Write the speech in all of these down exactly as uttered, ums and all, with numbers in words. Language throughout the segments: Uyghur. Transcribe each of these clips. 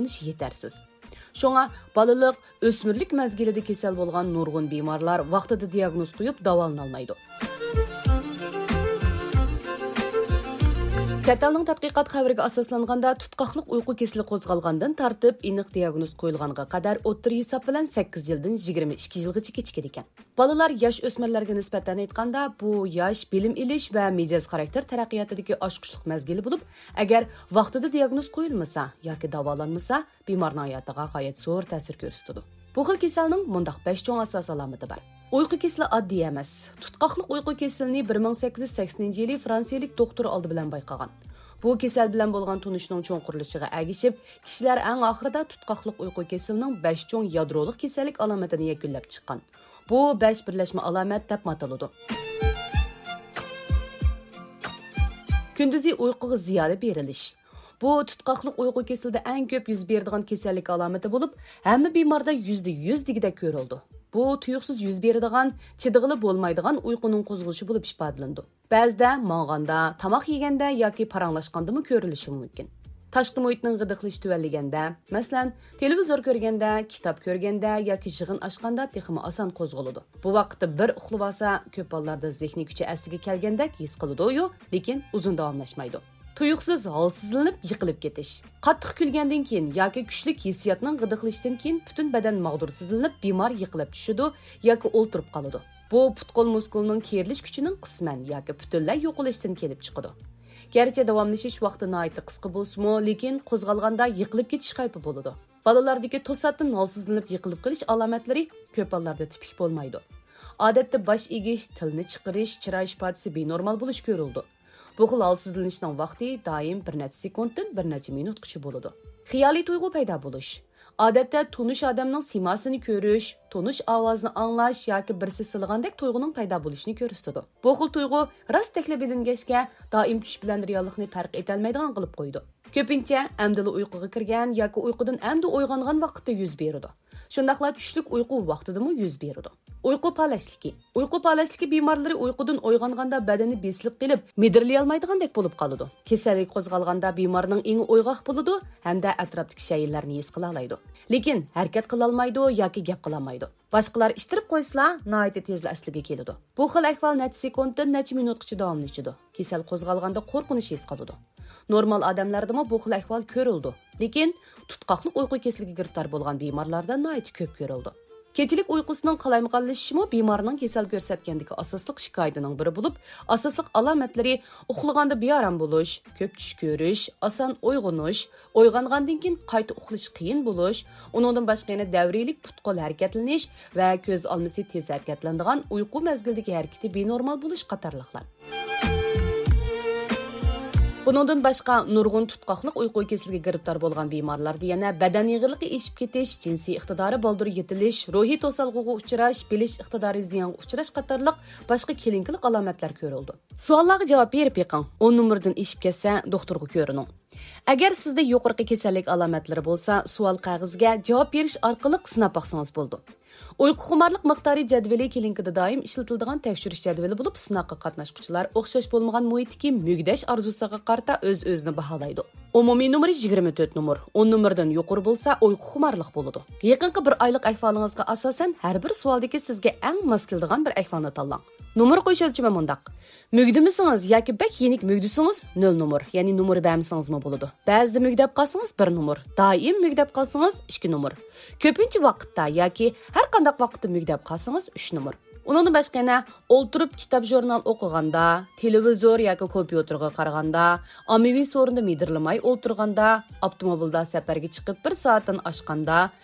داۋالىنىش يېتەرسىز. شۇڭا بالىلىق، ئۆسمۈرلۈك مەزگىلىدە كېسەل بولغان نۇرغۇن بىمارلار ۋاقتىدا دىياگنوز قويۇپ داۋالىنالمايدۇ. چەت ئەلنىڭ تەتقىقات خەۋىرىگە ئاساسلانغاندا، تۇتقاقلىق ئۇيقۇ كېسىلى قوزغالغاندىن تارتىپ ئېنىق دىياگنوز قويۇلغانغا قەدەر ئوتتۇرا ھېساب بىلەن سەككىز يىلدىن يىگىرمە ئىككى يىلغىچە كېچىكىدىكەن. بالىلار ياش ئۆسمۈرلەرگە نىسبەتەن ئېيتقاندا، بۇ ياش بىلىم ئېلىش ۋە مىجەز خاراكتېر تەرەققىياتىدىكى ئاچقۇچلۇق مەزگىلى بولۇپ، ئەگەر ۋاقتىدا دىياگنوز قويۇلمىسا ياكى داۋالانمىسا، بىمارنىڭ ھاياتىغا غايەت زور تەسىر كۆرسىتىدۇ. بۇ خىل كېسەلنىڭ مۇنداق بەش چوڭ ئاساسىي ئالامىتى بار. ئۇيقۇ كېسىلى ئاددىي ئەمەس. تۇتقاقلىق ئۇيقۇ كېسىلىنى بىر مىڭ سەككىز يۈز سەكسىنىنچى يىلى فرانسىيىلىك دوختۇر ئالدى بىلەن بايقىغان. بۇ كېسەل بىلەن بولغان تونۇشنىڭ چوڭقۇرلىشىشىغا ئەگىشىپ، كىشىلەر ئەڭ ئاخىرىدا تۇتقاقلىق ئۇيقۇ كېسىلىنىڭ بەش چوڭ يادرولۇق كېسەللىك ئالامىتىنى يەكۈنلەپ چىققان. بۇ بەش بىرلەشمە ئالامەت دەپمۇ ئاتىلىدۇ. كۈندۈزى ئۇيقۇغا زىيادە بېرىلىش. بۇ تۇتقاقلىق ئۇيقۇ كېسىلىدە ئەڭ كۆپ يۈز بېرىدىغان كېسەللىك ئالامىتى بولۇپ، ھەممە بىماردا يۈزدە يۈز دېگۈدەك كۆرۈلىدۇ. بۇ تۇيۇقسىز يۈز بېرىدىغان، چىدىغىلى بولمايدىغان ئۇيقۇنىڭ قوزغىلىشى بولۇپ ئىپادىلىنىدۇ. بەزىدە ماڭغاندا، تاماق يېگەندە ياكى پاراڭلاشقاندىمۇ كۆرۈلۈشى مۇمكىن. تاشقى مۇھىتنىڭ غىدىقلىشى تۆۋەنلىگەندە، مەسىلەن، تېلېۋىزور كۆرگەندە، كىتاب كۆرگەندە ياكى يىغىن ئاچقاندا تېخىمۇ ئاسان قوزغىلىدۇ. بۇ ۋاقىتتا بىر ئۇخلىۋالسا، كۆپ بالىلاردا زېھنىي كۈچى ئەسلىگە كەلگەندەك ھېس قىلىدۇ-يۇ، لېكىن ئۇزۇن داۋاملاشمايدۇ. تۇيۇقسىز ھالسىزلىنىپ يىقىلىپ كېتىش. قاتتىق كۈلگەندىن كېيىن ياكى كۈچلۈك ھېسسىياتنىڭ غىدىقلىشىشىدىن كېيىن پۈتۈن بەدەن ماغدۇرسىزلىنىپ، بىمار يىقىلىپ چۈشىدۇ ياكى ئولتۇرۇپ قالىدۇ. بۇ پۇت-قول مۇسكۇلىنىڭ كېرىلىش كۈچىنىڭ قىسمەن ياكى پۈتۈنلەي يوقىلىشىدىن كېلىپ چىقىدۇ. گەرچە داۋاملىشىش ۋاقتى ناھايىتى قىسقا بولسىمۇ، لېكىن قوزغالغاندا يىقىلىپ كېتىش خەۋپى بولىدۇ. بالىلاردىكى توساتتىن ھالسىزلىنىپ يىقىلىپ قېلىش ئالامەتلىرى كۆپ بالىلاردا تىپىك بولمايدۇ. ئادەتتە باش ئېگىش، تىلنى چىقىرىش، چىراي ئىپادىسى بىنورمال بولۇش كۆرۈلىدۇ. بۇ خىل ھالسىزلىنىشنىڭ ۋاقتى دائىم بىر نەچچە سېكۇنتتىن بىر نەچچە مىنۇتقىچە بولىدۇ. خىيالىي تۇيغۇ پەيدا بولۇش. ئادەتتە تونۇش ئادەمنىڭ سىيماسىنى كۆرۈش، تونۇش ئاۋازىنى ئاڭلاش ياكى بىرسى سىلىغاندەك تۇيغۇنىڭ پەيدا بولۇشىنى كۆرسىتىدۇ. بۇ خىل تۇيغۇ راستتەكلا بىلىنگەچكە، دائىم چۈش بىلەن رېئاللىقنى پەرق ئېتەلمەيدىغان قىلىپ قويىدۇ. كۆپىنچە ئەمدىلا ئۇيقۇغا كىرگەن ياكى ئۇيقۇدىن ئەمدى ئويغانغان ۋاقىتتا يۈز بېرىدۇ. شۇنداقلا چۈشلۈك ئۇيقۇ ۋاقتىدىمۇ يۈز بېرىدۇ. ئۇيقۇ پالەچلىكى. ئۇيقۇ پالەچلىكى بىمارلىرى ئۇيقۇدىن ئويغانغاندا بەدىنى بېسىلىپ قېلىپ، مىدىرلىيالمايدىغاندەك بولۇپ قالىدۇ. كېسەللىك قوزغالغاندا بىمارنىڭ ئېڭى ئويغاق بولىدۇ ھەمدە ئەتراپتىكى شەيئىلەرنى ھېس قىلالايدۇ. لېكىن ھەرىكەت قىلالمايدۇ ياكى گەپ قىلالمايدۇ. باشقىلار ئىتتىرىپ قويسىلا، ناھايىتى تېزلا ئەسلىگە كېلىدۇ. بۇ خىل ئەھۋال نەچچە سېكۇنتتىن نەچچە مىنۇتقىچە داۋاملىشىدۇ. كېسەل قوزغالغاندا قورقۇنچ ھېس قىلىدۇ. نورمال ئادەملەردىمۇ بۇ خىل ئەھۋال كۆرۈلىدۇ. لېكىن تۇتقاقلىق ئۇيقۇ كېسىلىگە گىرىپتار بولغان بىمارلاردا ناھايىتى كۆپ كۆرۈلىدۇ. كېچىلىك ئۇيقۇسىنىڭ قالايمىقانلىشىشىمۇ بىمارنىڭ كېسەل كۆرسەتكەندىكى ئاساسلىق شىكايىتىنىڭ بىرى بولۇپ، ئاساسلىق ئالامەتلىرى ئۇخلىغاندا بىئارام بولۇش، كۆپ چۈش كۆرۈش، ئاسان ئويغىنىش، ئويغانغاندىن كېيىن قايتا ئۇخلىشى قىيىن بولۇش، ئۇنىڭدىن باشقا يەنە دەۋرىيلىك پۇت-قول ھەرىكەتلىنىش ۋە كۆز ئالمىسى تېز ھەرىكەتلىنىدىغان ئۇيقۇ مەزگىلىدىكى ھەرىكىتى بىنورمال بولۇش قاتارلىقلار. بۇنىڭدىن باشقا، نۇرغۇن تۇتقاقلىق ئۇيقۇ كېسىلىگە گىرىپتار بولغان بىمارلاردا يەنە بەدەن ئېغىرلىقى ئېشىپ كېتىش، جىنسىي ئىقتىدارى بالدۇر يېتىلىش، روھىي توسالغۇغا ئۇچراش، بىلىش ئىقتىدارى زىيانغا ئۇچراش قاتارلىق باشقا كلىنىكىلىق ئالامەتلەر كۆرۈلىدۇ. سوئاللارغا جاۋاب بېرىپ بېقىڭ. ئون نومۇردىن ئېشىپ كەتسە، دوختۇرغا كۆرۈنۈڭ. ئەگەر سىزدە يۇقىرىقى كېسەللىك ئالامەتلىرى بولسا، سوئال قەغىزىگە جاۋاب بېرىش ئارقىلىق سىناپ باقسىڭىز بولىدۇ. ئۇيقۇخۇمارلىق مىقدارى جەدۋىلى كلىنىكىدا دائىم ئىشلىتىلىدىغان تەكشۈرۈش جەدۋىلى بولۇپ، سىناققا قاتناشقۇچىلار ئوخشاش بولمىغان مۇھىتتىكى مۈگدەش ئارزۇسىغا قارىتا ئۆز-ئۆزىنى باھالايدۇ. ئومۇمىي نومۇرى يىگىرمە تۆت نومۇر، ئون نومۇردىن يۇقىرى بولسا، ئۇيقۇخۇمارلىق بولىدۇ. يېقىنقى بىر ئايلىق ئەھۋالىڭىزغا ئاساسەن، ھەر بىر سوئالدىكى سىزگە ئەڭ ماس كېلىدىغان بىر ئەھۋالنى تاللاڭ. نومۇر قويۇش ئۆلچىمى مۇنداق. مۈگدىمىسىڭىز ياكى بەك يېنىك مۈگدىسىڭىز، نۆل نومۇر، يەنى نومۇر بەرمىسىڭىزمۇ بولىدۇ. بەزىدە مۈگدەپ قالسىڭىز، بىر نومۇر، دائىم مۈگدەپ قالسىڭىز، ئىككى نومۇر، كۆپىنچە ۋاقىتتا ياكى ھەر قانداق ۋاقىتتا مۈگدەپ قالسىڭىز، ئۈچ نومۇر. ئۇنىڭدىن باشقا يەنە ئولتۇرۇپ كىتاب، ژۇرنال ئوقۇغاندا، تېلېۋىزور ياكى كومپيۇتېرغا قارىغاندا، ئاممىۋى سورۇندا مىدىرلىماي ئولتۇرغاندا، ئاپتوموبىلدا سەپەرگە چىقىپ بىر سائەتتىن ئاشقاندا،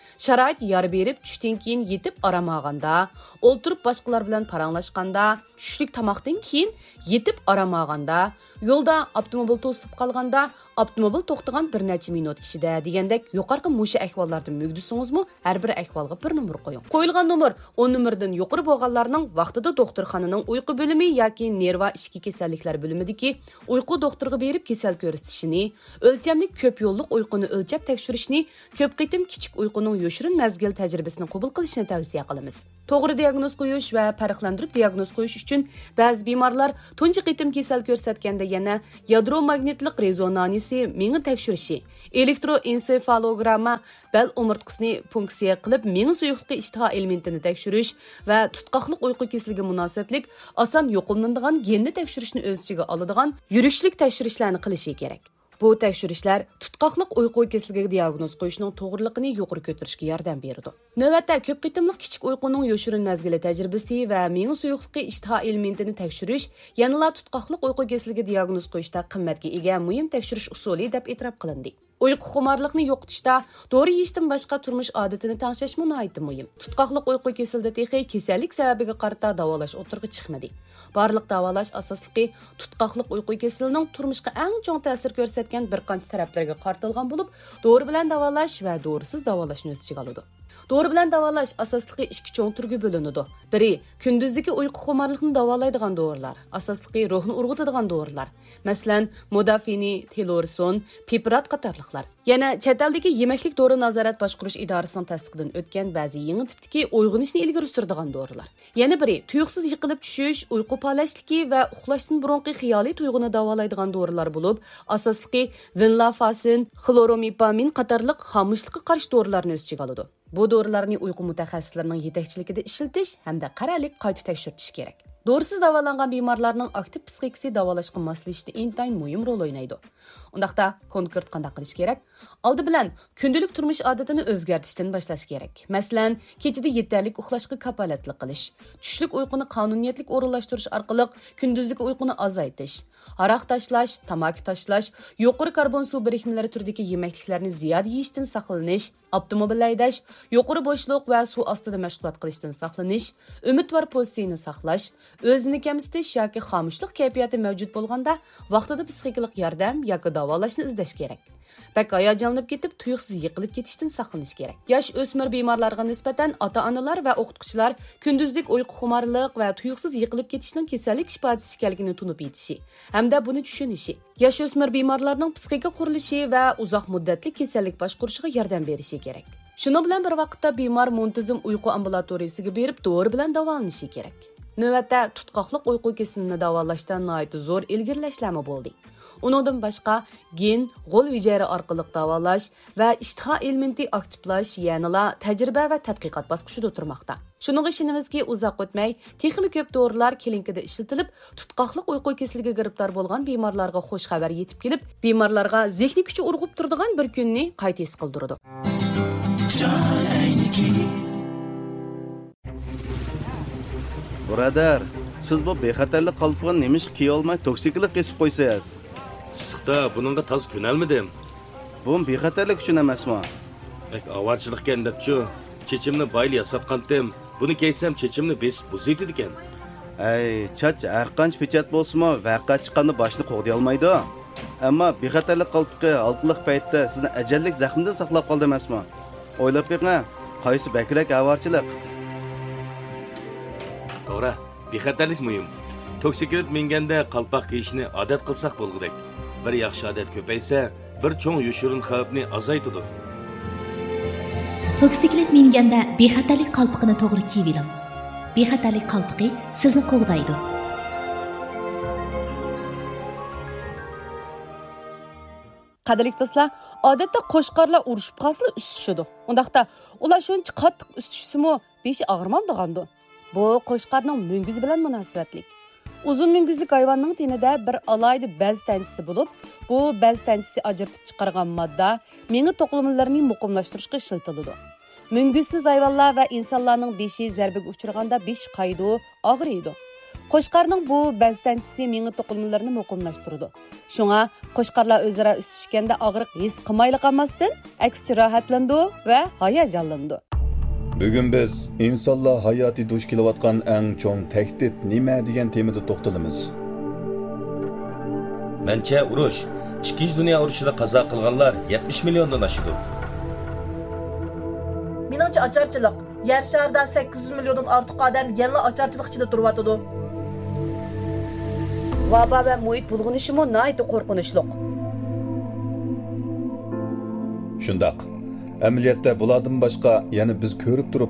شارائىت يار بېرىپ چۈشتىن كېيىن يېتىپ ئارام ئالغاندا، ئولتۇرۇپ باشقىلار بىلەن پاراڭلاشقاندا، چۈشلۈك تاماقتىن كېيىن يېتىپ ئارام ئالغاندا، يولدا ئاپتوموبىل توسۇلۇپ قالغاندا، ئاپتوموبىل توختىغان بىر نەچچە مىنۇت ئىچىدە دېگەندەك يۇقىرىقى مۇشۇ ئەھۋاللاردا مۈگدىسىڭىزمۇ، ھەر بىر ئەھۋالغا بىر نومۇر قويۇڭ. قويۇلغان نومۇر ئون نومۇردىن يۇقىرى بولغانلارنىڭ ۋاقتىدا دوختۇرخانىنىڭ ئۇيقۇ بۆلۈمى ياكى نېرۋا ئىچكى كېسەللىكلەر بۆلۈمىدىكى ئۇيقۇ دوختۇرىغا بېرىپ كېسەل كۆرسىتىشىنى، ئۆلچەملىك كۆپ يوللۇق ئۇيقۇنى ئۆلچەپ تەكشۈرۈشنى، كۆپ قېتىم كىچىك ئۇيقۇنىڭ يوشۇرۇن مەزگىل تەجرىبىسىنى قوبۇل قىلىشنى تەۋسىيە قىلىمىز. توغرا دىياگنوز قويۇش ۋە پەرقلەندۈرۈپ دىياگنوز قويۇش ئۈچۈن بەزى بىمارلار تۇنجى قېتىم كېسەل كۆرسەتكەندە يەنە يادرو ماگنىتلىق رېزونانسى مېڭە تەكشۈرۈشى، ئېلېكتروئېنسېفالوگرامما، بەل ئومۇرتقىسىنى پۇنكسىيە قىلىپ، مېڭە سۇيۇقلۇقى ئىشتىها ئېلېمېنتىنى تەكشۈرۈش ۋە تۇتقاقلىق ئۇيقۇ كېسىلىگە مۇناسىۋەتلىك ئاسان يۇقۇملىنىدىغان گېننى تەكشۈرۈشنى ئۆز ئىچىگە ئالىدىغان يۈرۈشلۈك تەكشۈرۈشلەرنى قىلىشى كېرەك. بۇ تەكشۈرۈشلەر تۇتقاقلىق ئۇيقۇ كېسىلىگە دىياگنوز قويۇشنىڭ توغرىلىقىنى يۇقىرى كۆتۈرۈشكە ياردەم بېرىدۇ. نۆۋەتتە كۆپ قېتىملىق كىچىك ئۇيقۇنىڭ يوشۇرۇن مەزگىلى تەجرىبىسى ۋە مېڭە سۇيۇقلۇقى ئىشتىها ئېلېمېنتىنى تەكشۈرۈش يەنىلا تۇتقاقلىق ئۇيقۇ كېسىلىگە دىياگنوز قويۇشتا قىممەتكە ئىگە مۇھىم تەكشۈرۈش ئۇسۇلى دەپ ئېتىراپ قىلىندى. ئۇيقۇ خۇمارلىقنى يوقىتىشتا دورا يېيىشتىن باشقا تۇرمۇش ئادىتىنى تەڭشەشمۇ ناھايىتى مۇھىم. تۇتقاقلىق ئۇيقۇ كېسىلىدە تېخى كېسەللىك سەۋەبىگە قارىتا داۋالاش ئوتتۇرىغا چىقمىدى. بارلىق داۋالاش ئاساسلىقى تۇتقاقلىق ئۇيقۇ كېسىلىنىڭ تۇرمۇشقا ئەڭ چوڭ تەسىر كۆرسەتكەن بىر قانچە تەرەپلەرگە قارىتىلغان بولۇپ، دورا بىلەن داۋالاش ۋە دورىسىز داۋالاشنى ئۆز ئىچىگە ئالىدۇ. دورا بىلەن داۋالاش ئاساسلىقى ئىككى چوڭ تۈرگە بۆلۈنىدۇ. بىرى، كۈندۈزدىكى ئۇيقۇ خۇمارلىقنى داۋالايدىغان دورىلار، ئاساسلىقى روھنى ئۇرغۇتىدىغان دورىلار، مەسىلەن، مودافىنى، تېلورسون، پىپرات قاتارلىقلار. يەنە چەت ئەلدىكى يېمەكلىك دورا نازارەت باشقۇرۇش ئىدارىسىنىڭ تەستىقىدىن ئۆتكەن بەزى يېڭى تىپتىكى ئويغىنىشنى ئىلگىرى سۈرىدىغان دورىلار. يەنە بىرى، تۇيۇقسىز يىقىلىپ چۈشۈش، ئۇيقۇ پالەچلىكى ۋە ئۇخلاشتىن بۇرۇنقى خىيالىي تۇيغۇنى داۋالايدىغان دورىلار بولۇپ، ئاساسلىقى ۋېنلافاسىن، خلورومېپامىن قاتارلىق خامۇشلۇققا قارشى دورىلارنى ئۆز ئىچىگە ئالىدۇ. بۇ دورىلارنى ئۇيقۇ مۇتەخەسسىسلىرىنىڭ يېتەكچىلىكىدە ئىشلىتىش ھەمدە قەرەللىك قايتا تەكشۈرتۈش كېرەك. دورىسىز داۋالانغان بىمارلارنىڭ ئاكتىپ پىسخىكىسى داۋالاشقا ماسلىشىشتا ئىنتايىن مۇھىم رول ئوينايدۇ. ئۇنداقتا، كونكرېت قانداق قىلىش كېرەك؟ ئالدى بىلەن، كۈندىلىك تۇرمۇش ئادىتىنى ئۆزگەرتىشتىن باشلاش كېرەك. مەسىلەن، كېچىدە يېتەرلىك ئۇخلاشقا كاپالەتلىك قىلىش، چۈشلۈك ئۇيقۇنى قانۇنىيەتلىك ئورۇنلاشتۇرۇش ئارقىلىق كۈندۈزلۈك ئۇيقۇنى ئازايتىش، ھاراق تاشلاش، تاماكا تاشلاش، يۇقىرى كاربون سۇ بىرىكمىلىرى تۈرىدىكى يېمەكلىكلەرنى زىيادە يېيىشتىن ساقلىنىش، ئاپتوموبىل ھەيدەش، يۇقىرى بوشلۇق ۋە سۇ ئاستىدا مەشغۇلات قىلىشتىن ساقلىنىش، ئۈمىدۋار پوزىتسىيىنى ساقلاش، ئۆزىنى كەمسىتىش ياكى خامۇشلۇق كەيپىياتى مەۋجۇت بولغاندا، ۋاقتىدا پسىخىكىلىق ياردەم ياكى داۋالاشنى ئىزدەش كېرەك. بەك ھاياجانلىنىپ كېتىپ، تۇيۇقسىز يىقىلىپ كېتىشتىن ساقلىنىش كېرەك. ياش ئۆسمۈر بىمارلارغا نىسبەتەن ئاتا-ئانىلار ۋە ئوقۇتقۇچىلار كۈندۈزلۈك ئۇيقۇ خۇمارلىق ۋە تۇيۇقسىز يىقىلىپ كېتىشنىڭ كېسەللىك ئىپادىسى ئىكەنلىكىنى تونۇپ يېتىشى ھەمدە بۇنى چۈشىنىشى، ياش ئۆسمۈر بىمارلارنىڭ پسىخىكا قۇرۇلۇشى ۋە ئۇزاق مۇددەتلىك كېسەللىك باشقۇرۇشىغا ياردەم بېرىشى كېرەك. شۇنىڭ بىلەن بىر ۋاقىتتا، بىمار مۇنتىزىم ئۇيقۇ ئامبۇلاتورىيىسىگە بېرىپ، دورا بىلەن داۋالىنىشى كېرەك. نۆۋەتتە، تۇتقاقلىق ئۇيقۇ كېسىلىنى داۋالاشتا ناھايىتى زور ئىلگىرىلەشلەرمۇ بولدى. ئۇنىڭدىن باشقا، گېن، غول ھۈجەيرە ئارقىلىق داۋالاش ۋە ئىشتىھا ئېلېمېنتى ئاكتىپلاش يەنىلا تەجرىبە ۋە تەتقىقات باسقۇچىدا تۇرماقتا. شۇنىڭغا ئىشىنىمىزكى، ئۇزاق ئۆتمەي، تېخىمۇ كۆپ دورىلار كلىنىكىدا ئىشلىتىلىپ، تۇتقاقلىق ئۇيقۇ كېسىلىگە گىرىپتار بولغان بىمارلارغا خۇش خەۋەر يېتىپ كېلىپ، بىمارلارغا زېھنىي كۈچى ئۇرغۇپ تۇرىدىغان بىر كۈننى قايتا ھېس قىلدۇرىدۇ. بۇرادەر، سىز بۇ بىخەتەرلىك قالپىقىنى نېمىشقا كىيىۋالماي توكسىكلىق كېسىپ قويىسىز؟ ئىسسىقتا بۇنىڭغا تازا كۆنەلمىدىم. بۇمۇ بىخەتەرلىك ئۈچۈن ئەمەسمۇ؟ بەك ئاۋارىچىلىقكەن دەپچۇ، چېچىمنى بايىلا ياساتقانتىم. بۇنى كىيسەم چېچىمنى بېسىپ بۇزۇۋېتىدىكەن. ھەي، چاچ ھەرقانچە پېچەت بولسىمۇ، ۋەقە چىققاندا باشنى قوغدىيالمايدۇ. ئەمما بىخەتەرلىك قالپىقى ھالقىلىق پەيتتە سىزنى ئەجەللىك زەخمىدىن ساقلاپ قالدى ئەمەسمۇ؟ ئويلاپ بېقىڭ، قايسى بەكرەك ئاۋارىچىلىق؟ توغرا، بىخەتەرلىك مۇھىم. توكسىكلىت مىنگەندە قالپاق كىيىشنى ئادەت قىلساق بولغۇدەك. بىر ياخشى ئادەت كۆپەيسە، بىر چوڭ يوشۇرۇن خەۋپنى ئازايتىدۇ. توكسىكلىت مىنگەندە بىخەتەرلىك قالپىقىنى توغرا كىيىۋېلىڭ. بىخەتەرلىك قالپىقى سىزنى قوغدايدۇ. قەدىرلىك دوستلار، ئادەتتە قوچقارلار ئۇرۇشۇپ قالسىلا ئۈسۈشىدۇ. ئۇنداقتا ئۇلار شۇنچە قاتتىق ئۈسۈشسىمۇ بېشى ئاغرىمامدىغاندۇ؟ بۇ قوچقارنىڭ مۈڭگۈزى بىلەن مۇناسىۋەتلىك. ئۇزۇن مۈڭگۈزلۈك ھايۋاننىڭ تېنىدە بىر ئالاھىدە بەز تەنچىسى بولۇپ، بۇ بەز تەنچىسى ئاجرىتىپ چىقارغان ماددا مېڭە توقۇلمىلىرىنى مۇقىملاشتۇرۇشقا ئىشلىتىلىدۇ. مۈڭگۈزسىز ھايۋانلار ۋە ئىنسانلارنىڭ بېشى زەربىگە ئۇچرىغاندا بېشى قايىدۇ، ئاغرىيدۇ. قوچقارنىڭ بۇ بەز تەنچىسى مېڭە توقۇلمىلىرىنى مۇقىملاشتۇرىدۇ. شۇڭا قوچقارلار ئۆزئارا ئۈسۈشكەندە ئاغرىق ھېس قىلمايلا قالماستىن، ئەكسىچە راھەتلىنىدۇ ۋە ھاياجانلىنىدۇ. بۈگۈن بىز ئىنسانلار ھاياتىي دۇچ كېلىۋاتقان ئەڭ چوڭ تەھدىت نېمە دېگەن تېمىدا توختىلىمىز. مەنچە، ئۇرۇش، ئىككىنچى دۇنيا ئۇرۇشىدا قازا قىلغانلار يەتمىش مىليوندىن ئاشىدۇ. مېنىڭچە، ئاچارچىلىق. يەر شارىدا سەككىز يۈز مىليوندىن ئارتۇق ئادەم يەنىلا ئاچارچىلىق ئىچىدە تۇرۇۋاتىدۇ. ۋابا ۋە مۇھىت بۇلغىنىشىمۇ ناھايىتى قورقۇنچلۇق. شۇنداق. ئەمەلىيەتتە بۇلاردىن باشقا يەنە بىز كۆرۈپ تۇرۇپ